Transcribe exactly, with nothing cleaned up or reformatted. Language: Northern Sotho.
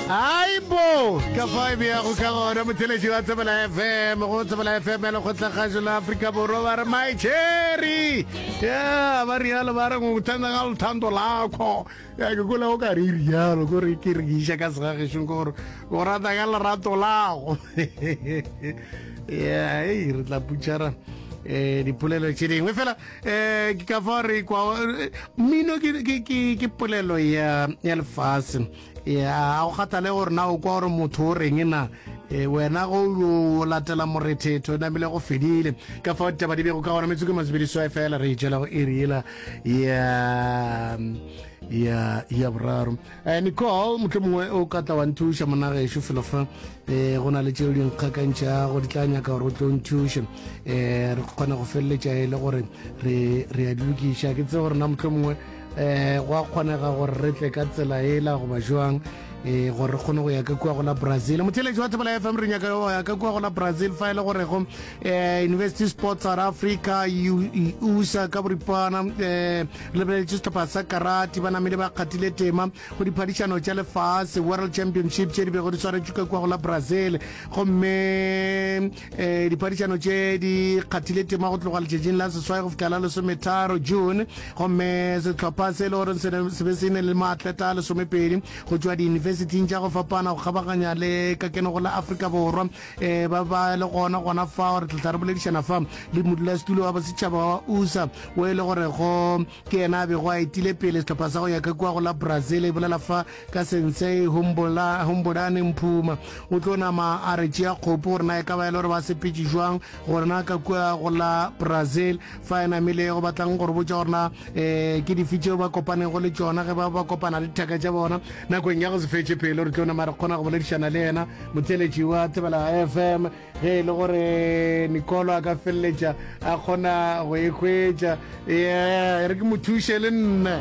Aibo ka fa e beago ka gona motheletši wa Thobela F M, go Thobela F M ya Lekgotlakgašo la Afrika Borwa, ba re "My Cherry". Ya ba rialo, ba re "Ngikuthanda ka lethando lakho". Ya ke kole o ka re rialo, kore ke re ke iša ka segagešong, ke gore o rata ka lerato lago. Ya ei, re tla putšhara um dipolelo tše dingwe fela. um ke ka fa re kwa mmino ke- ke ke- ke polelo ya ya lefase ya go kgathale gore na o kwa gore motho o reng na. eh, wena go o latela morethetho namile go fedile. Ka fao ditaba di bego ka gona, metsoko masebedi swae fela re itšela go iri ela ya ya ya boraro. eh, nicole motlho mongwe o ka tla wa nthuša monagešo felo fa. um go na le tšeo di nkgakantšhago, di tla nyaka gore o tlo nthuše, um re kgone go feleletša e le gore re re a di lokiša. Ke tse gore na motlho mongwe um go a kgonega gore re tle ka tsela ela goba jwang, um gore re kgone go ya ka kua go la Brazil. Motheletši wa Thobela F M, re nyaka go ya ka kua go la Brazil, fa e le gorego um University Sports South Africa, U S A ka boripana, um re lebeletše sehlopha sa karate, ba namile ba kgathile tema go diphadišano tša lefase, World Championship, tše di bego di swaretšwe ka kua go la Brazil. Gomme um diphadišano tše di kgathile tema go tloga letšatšing la seswai go fihla la lesometharo June. Gomme sehlopha se e le gore se ne- se be se ne le maatleta a lesomepedi go tšwa diyunibesithing tša go fapana go kgabaganya le ka keno go la Afrika Borwa, um ba ba le gona gona fao. Re tlatla re boledišana fa le modulasetulo wa bosetšhaba wa U S A, o e le gore go ke yena a bego a etile pele sehlopha sa go ya ka kua go la Brazil. E bolela fa ka Sensei Humbola- Humbulani Mphuma. O tlo nama a re tšea kgopo gore na e ka ba e le gore ba sepetše jwang gorena ka kua go la Brazil, fa e namile go batlang gore botša gore na um ke dife tšeo ba kopanego le tšona ge ba ba kopana le dithaka tša bona nakong ya go se fetše pelo. Re tlo nama re kgona go boledišana le yena, motheletši wa Thobela F M, ge e le gore Nicolo a ka feleletša a kgona go e hwetša. Yeah, re ke mo thuše le nna.